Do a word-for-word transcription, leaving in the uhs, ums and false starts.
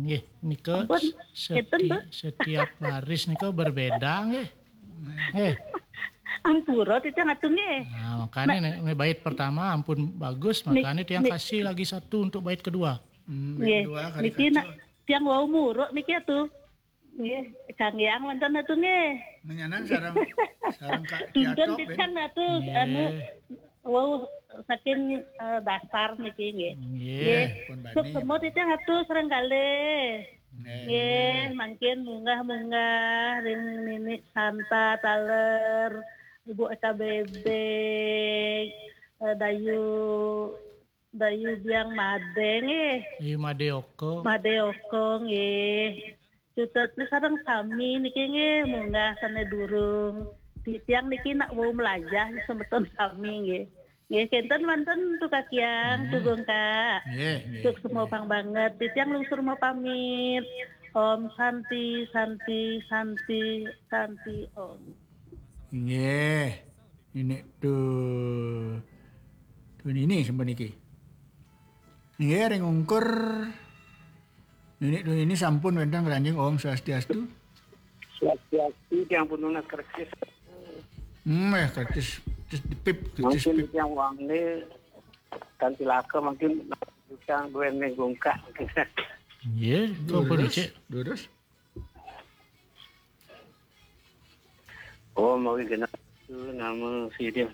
Nggih, nika seti-, setiap baris nika berbeda nggih. Nggih. Ampura titiang atuh nggih. Nah, makanya nih, nih bait pertama ampun bagus, makanya tiang kasih lagi satu untuk bait kedua. Hmm, bait kedua kali niki nak tiang wau muruk niki atuh. Nggih, kanggiang wonten atuh nggih. Menyanan sareng, sareng Kak Kiatop, titiang atuh, anu, wau saking, eh, dasar niki nggih. Nggih. Nggih. Pun bani. Sukma titiang atuh sareng kalih. Nggih. Nggih, mangkin munggah-munggah ring Nini Santa taler, Ibu Eka Bebek, eh, Dayu, Dayu Biang Made nggih. Ayu Made Oko. Made Oko nggih. Cutetna sareng sami niki nggih, munggah sane durung. Titiang niki nak wau melajah semeton sami nggih. Nggih, kenten manten tu Kak Kiang, Tugung Kak. Nggih, nggih. Sukma pang banget. Titiang lungsur mau pamit. Om Santi, Santi, Santi, Santi Om. Nggih. Ini tuh. Tuh ini sampun niki. Nggih, ring ungkur. Ini tuh ini sampun wénten ngranjing. Om Swastiastu. Swastiastu, tiang pun nunas kercis. Hmm, eh, kercis, kercis dipip, kercis mungkin pip. Tiang wangi kan cilaka mungkin tiang duwene gungkak. Nggih, kok durus, dicek? Durus. Oh, mau genah nama si dia.